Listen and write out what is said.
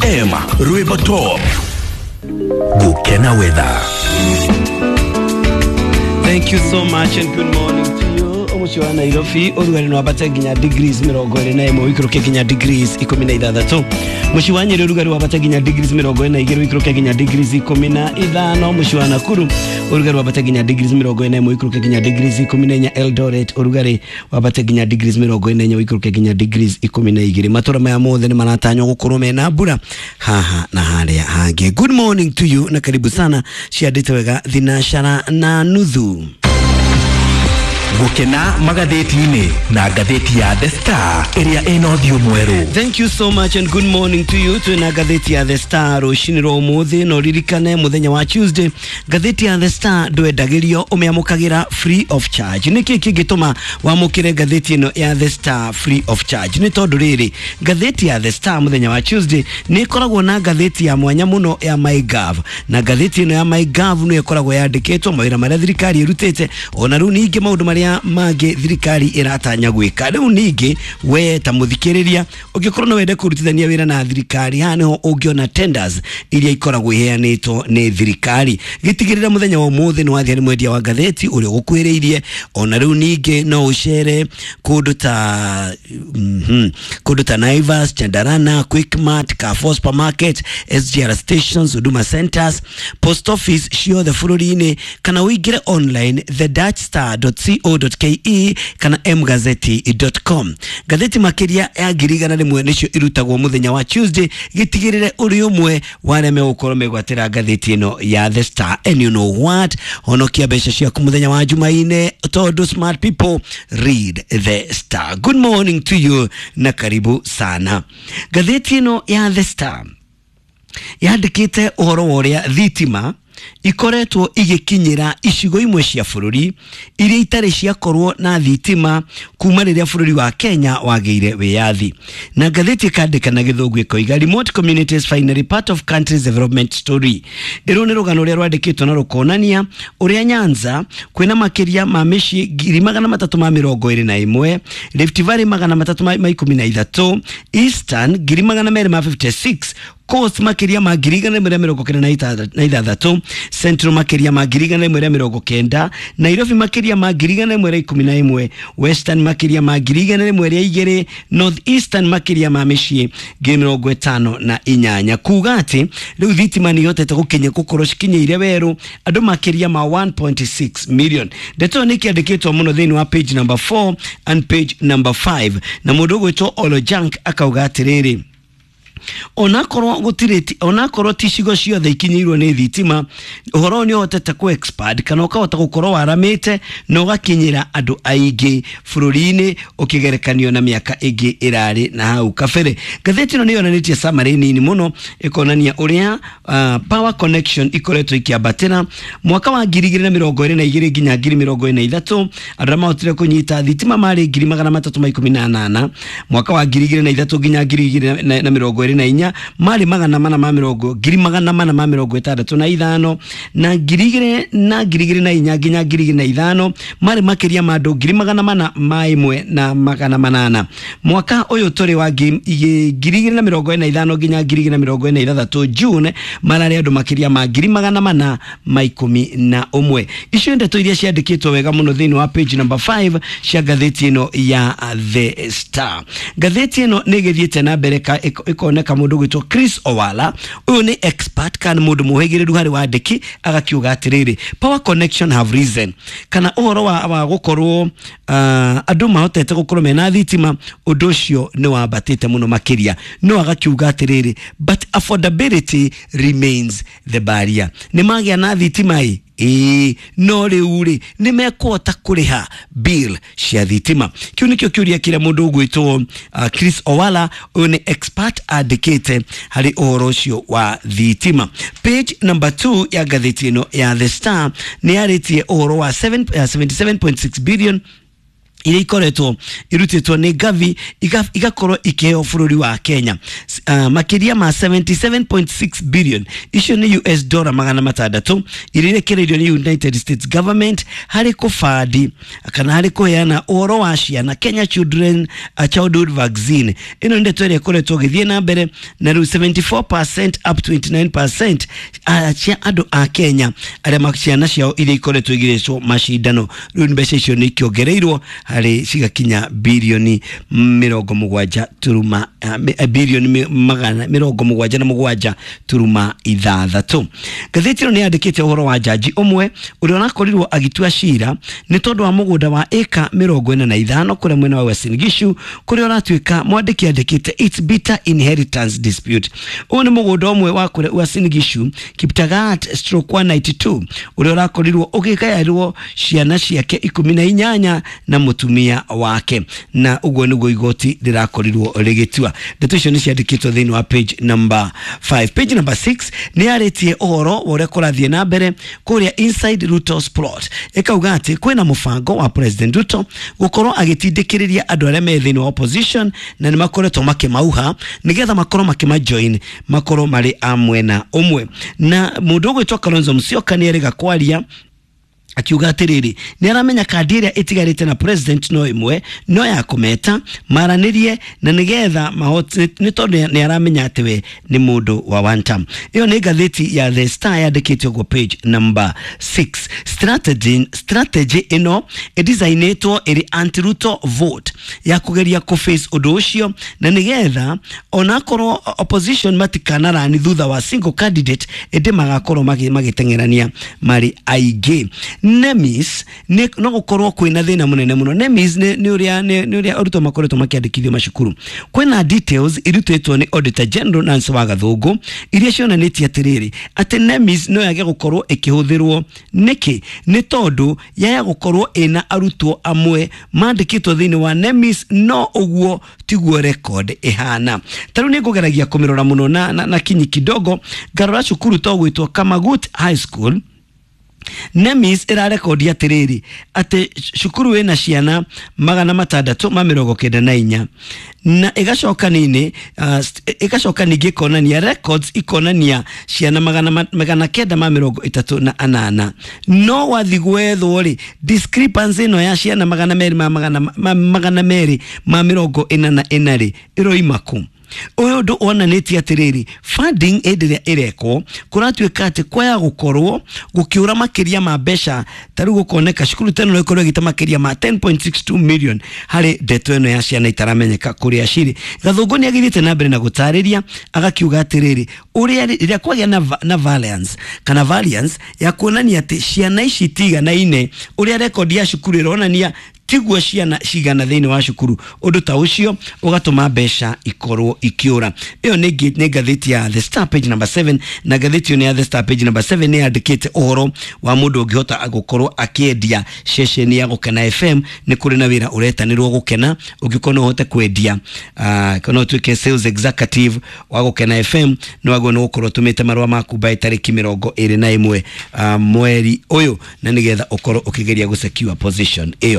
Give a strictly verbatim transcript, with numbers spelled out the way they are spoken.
F M, rwĩmbo top gũkena weather. Thank you so much and good morning to you. Mũciĩ wa Nairobi ũrugarĩ no wambate nginya degrees mĩrongo ĩrĩ na ĩmwe, ũikũrũke nginya degrees ikũmi na ithathatũ. Mũciĩ wa Nyĩrĩ ũrugarĩ wambate nginya degrees mĩrongo ĩna na igĩrĩ, ũikũrũke nginya degrees ikũmi na ithano. Mũciĩ wa Nakuru ũrugarĩ wambate nginya degrees mĩrongo ĩna ĩmwe, ũikũrũke nginya degrees ikũmi na inya. Eldoret ũrugarĩ wambate nginya degrees mĩrongo ĩna na inya, ũikũrũke nginya degrees ikũmi na igĩrĩ. Matũra maya mothe nĩ maratanywo gũkorwo mena mbura haha na harĩa hangĩ. Good morning to you na karibu sana. Ciandĩte wega thinashara na nuthu. Gũkena magathĩti-inĩ na ngathĩti ya The Star ĩrĩa ĩna ũthiũ mwerũ. Thank you so much and good morning to you. Twina ngathĩti ya The Star rũcinĩ rwa ũmũthĩ, na ũririkane mũthenya wa Tuesday ngathĩti ya The Star ndwendagĩrio, ũmĩamũkagĩra free of charge. Nĩkĩ kĩngĩtũma wamũkĩre ngathĩti ĩno ya The Star free of charge? Nĩ tondũ rĩrĩ, ngathĩti ya The Star mũthenya wa Tuesday nĩ ĩkoragwo na ngathĩti ya mwanya mũno ya MyGov, na ngathĩti ĩno ya MyGov nĩyo ĩkoragwo yandĩkĩtwo mawĩra marĩa thirikari ĩrutĩte, ona rĩu ningĩ maũndũ marĩa mangĩ thirikari ĩratanya gwĩka. Rĩu ningĩ we ta mũthikĩrĩria ũngĩkorwo no wende kũrutithania wĩra na thirikari, haha nĩho ũngĩona tenders iria ikoragwo iheanĩtwo nĩ thirikari. Gĩtigĩrĩra mũthenya wa ũmũthĩ nĩ wathiĩ harĩ mwendia wa ngathĩti ũrĩa ũgũkuhĩrĩirie. Ona rĩu ningĩ no ũcere kũndũ ta mm -hmm, kũndũ ta Naivas, Chandarana, Quickmart, Carrefour Supermarket, S G R stations, Huduma Centers, post office ciothe bũrũri-inĩ, kana ũingĩre online the dash star dot co dot ke kana mgazeti dot com. Ngathĩti makĩria ya ngiri igana rĩmwe nĩcio irutagwo mũthenya wa Tuesday. Gĩtigĩrĩre ũrĩ ũmwe wa arĩa megũkorwo megwatĩra ngathĩti ĩno ya The Star. And you know what, honokia mbeca ciaku mũthenya wa Jumaine, tondũ smart people read The Star. Good morning to you na karibu sana. Ngathĩti ĩno ya The Star yandĩkĩte ũhoro wa ũrĩa thitima ikoretwo igĩkinyĩra icigo imwe cia bũrũri iria itarĩ ciakorwo na thitima kuma rĩrĩa bũrũri wa Kenya wagĩire wĩyathi. Na ngathĩti ĩkandĩka na Gĩthũngũ ĩkoiga, "Remote communities finally part of country's development story." Ĩrũ nĩ rũgano rũrĩa rwandĩkĩtwo na rũkonania ũrĩa Nyanza kwĩna makĩria ma mĩciĩ ngiri magana matatũ ma mĩrongo ĩrĩ na ĩmwe, Rift Valley magana matatũ ma ikũmi na ithatũ, Eastern ngiri magana merĩ ma mĩrongo ĩna na ithatũ, Coast makĩria ma ngiri igana rĩmwe rĩa mĩrongo kenda na ithathatũ, Central makĩria ma ngiri igana rĩmwe rĩa mĩrongo kenda, Nairobi makĩria ma ngiri igana rĩmwe rĩa ikũmi na ĩmwe, Western makĩria ma ngiri igana rĩmwe rĩa igĩrĩ, North Eastern makĩria ma mĩciĩ ngiri mĩrongo ĩtano na inyanya. Kuga atĩ rĩu thitima nĩ ihotete gũkinya gũkorwo cikinyĩire werũ andũ makĩria ma one point six million. Ndeto ĩyo nĩ ĩkĩandĩkĩtwo mũno thĩinĩ wa page number four and page number five, na mũndũ ũgwĩtwo Olo Jank akauga atĩrĩrĩ, onakorwo gũtirĩ, onakorwo ti icigo ciothe ikinyĩirwo nĩ thitima, ũhoro ũyũ nĩ ũhotete kũ expand kana ũkahota gũkorwo waramĩte na ũgakinyĩra andũ aingĩ bũrũri-inĩ ũkĩgerekanio na mĩaka ĩngĩ ĩrarĩ na hau kabere. Ngathĩti ĩno nĩ yonanĩtie summary nini mũno, ĩkonania ũrĩa uh, power connection ikoretwo ikĩambatĩra mwaka wa ngiri igĩrĩ na mĩrongo ĩrĩ na igĩrĩ nginya ngiri mĩrongo ĩrĩ na ithatũ. Andũ arĩa mahotire kũnyita thitima marĩ ngiri magana matatũ ma ikũmi na nana. Mwaka wa ngiri igĩrĩ na ithatũ nginya ngiri igĩrĩ na, na mĩrongo ĩrĩ na inya marĩ magana mana ma mĩrongo ngiri magana mana ma mĩrongo ĩtandatũ na ithano, na ngiri igĩrĩ na ngiri igĩrĩ na inya nginya ngiri igĩrĩ na ithano marĩ makĩria ma andũ ngiri magana mana ma ĩmwe na magana manana. Mwaka ũyũ tũrĩ wa ngiri igĩrĩ na mĩrongo ĩrĩ na ithano nginya ngiri igĩrĩ na mĩrongo ĩrĩ na ithathatũ June mararĩ andũ makĩria ma ngiri magana mana ma ikũmi na ũmwe. Icio ndeto iria ciandĩkĩtwo wega mũno thĩinĩ wa page number five cia ngathĩti ĩno ya The Star. Ngathĩti ĩno nĩ ĩgĩthiĩte na mbere ĩkoneka mũndũ gwĩtwo Chris Owala, ũyũ nĩ expert kana mũndũ mũhĩgĩrĩru harĩ wandĩki, agakiuga atĩrĩrĩ, power connection have risen, kana ũhoro wa, wa gũkorwo uh, andũ mahotete gũkorwo mena thitima, ũndũ ũcio nĩ wambatĩte mũno makĩria. No agakiuga atĩrĩrĩ, but affordability remains the barrier. Nĩ magĩa na thitima ĩ ĩĩ, no rĩu rĩ, nĩ mekũhota kũrĩha bill cia thitima? Kĩu nĩkĩo kĩũria kĩrĩa mũndũ ũgwĩtwo uh, Chris Owala, ũyũ nĩ expert, andĩkĩte harĩ ũhoro ũcio wa thitima. Page number two ya ngathĩti ĩno ya The Star nĩ yarĩtie ũhoro wa seven, uh, seventy-seven point six billion iria ikoretwo irutĩtwo nĩ Gavi igakorwo ikĩheo bũrũri wa Kenya. uh, makĩria ma seventy-seven point six billion, icio nĩ U S dollar magana matandatũ iria irekereirio nĩ United States government harĩ kũbandi kana harĩ kũheana ũhoro wa ciana Kenya Children uh, Childhood Vaccine. Ĩno nĩ ndeto ĩrĩa ĩkoretwo ĩgĩthiĩ na mbere na rĩu seventy-four percent up twenty-nine percent uh, cia andũ a Kenya arĩa ciana ciao iria ikoretwo igĩrĩcwo macindano, rĩu mbeca icio nĩ ikĩongereirwo harĩ cigakinya bilioni mĩrongo mũgwanja turuma uh, bilioni magana mĩrongo mũgwanja na mũgwanja turuma ithathatũ. Ngathĩti ĩno nĩ yandĩkĩte ũhoro wa jaji ũmwe ũrĩa ũrakorirwo agĩtua cira nĩ tondũ wa mũgũnda wa ĩka mĩrongo ĩna na ithano kũrĩa mwena wa Uasin Gishu, kũrĩa ũratuĩka mwandĩki andĩkĩte it's bitter inheritance dispute. Ũyũ nĩ mũgũnda ũmwe wa kũrĩa Uasin Gishu, Kiptagat stroke one ninety-two, ũrĩa ũrakorirwo ũgĩgaĩrwo ciana ciake ikũmi na inyanya na mũtumia wake, na ũguo nĩguo igoti rĩrakorirwo rĩgĩtua. Ndeto icio nĩ ciandĩkĩtwo thĩinĩ wa page number five. Page number six nĩ yarĩtie ũhoro wa ũrĩa kũrathiĩ na mbere kũrĩa inside Ruto's plot. Ĩkauga atĩ kwĩna mũbango wa President Ruto gũkorwo agĩtindĩkĩrĩria andũ arĩa me thĩinĩ wa opposition na nĩ makoretwo makĩmauha nĩgetha makorwo makĩmajoin makorwo marĩ a mwena ũmwe. Na mũndũ ũgwĩtwo Kalonzo Musyoka nĩ erĩga kwaria akiuga atiriri ni aramenya kandi ĩrĩa ĩtigarĩte na president no ĩmwe no ya kũmeta maranĩrie na nĩgetha mahote, nĩ tondũ nĩ aramenya atĩ we nĩ mũndũ wa one term. Ĩyo nĩ ngathĩti ya The Star yandĩkĩte ũguo page number six. Strategy, strategy ĩno ĩdesign-ĩtwo ĩrĩ anti-Ruto vote ya kũgeria kũ-face ũndũ ũcio na nĩgetha onakorwo opposition matikanarani thutha wa single candidate ĩndĩ magakorwo magĩteng'erania marĩ aingĩ. Nemis nĩ no gũkorwo kwĩna thĩna mũnene mũno. Nemis nĩ ũrĩa nĩ ũrĩa arutwo makoretwo makĩandĩkithio macukuru. Kwĩna details irutĩtwo nĩ Auditor General Nancy Wagathũngũ iria cionanĩtie atĩrĩrĩ atĩ Nemis no yage gũkorwo ĩkĩhũthĩrwo. Nĩkĩ? Nĩ tondũ yaya gũkorwo ĩna arutwo amwe mandĩkĩtwo thĩinĩ wa Nemis no ũguo tiguo record ĩhana. Ta rĩu nĩ ngũgeragia kũmĩrora mũno na, na, na kinyi kidogo ngarora cukuru to gwĩtwo Kamagut High School. Nemis ĩrarekondi atĩrĩrĩ atĩ cukuru ĩna ciana magana matandatũ ma mĩrongo kenda na inya na ĩgacoka nini uh, ĩgacoka ningĩ ĩkonania records ikonania ciana magana, magana kenda ma mĩrongo ĩtatũ na anana. No wathi gwethwo rĩ discrepancy ĩno ya ciana magana merĩ ma magana, ma, magana merĩ ma mĩrongo ĩna na ĩna rĩ ĩroima kũ? Ũyũ ũndũ wonanĩtie atĩrĩrĩ funding hĩndĩ ĩrĩa ĩrekwo kũratuĩka atĩ kwaya gũkorwo gũkĩũra makĩria ma mbeca ta rĩu gũkoneka cukuru ta ĩno no ĩkorwo ĩgĩte makĩria ma ten point six two million harĩ ndeto ĩno ya ciana itaramenyeka kũrĩa cirĩ. Gathũngũ nĩ agĩthiĩte na mbere na gũtarĩria agakiuga atĩrĩrĩ ũrĩa rĩrĩa kwagĩa na, na variance kana variance ya kuonania atĩ ciana ici tiganaine ũrĩa rekondi ya cukuru ĩronania tiguo ciana cigana thĩinĩ wa cukuru, ũndũ ta ũcio ũgatũma mbeca ikorwo ikiũra. Ĩyo nĩ ngathĩti ya The Star page number seven, na ngathĩti ĩyo ya The Star page number seven nĩ yandĩkĩte ũhoro wa mũndũ ũngĩhota gũkorwo akĩendia ceceni ya Gũkena F M. Nĩ kũrĩ na wĩra ũretanĩrwo Gũkena, ũngĩkorwo no ũhote kwendia uh, kana ũtuĩke sales executive wa Gũkena F M nĩ wagĩrĩirwo nĩ gũkorwo ũtũmĩte marũa maku by tarĩki mĩrongo ĩrĩ na ĩmwe uh, mweri ũyũ, na nĩgetha ũkorwo ũkĩgeria gũ secure position ĩyo.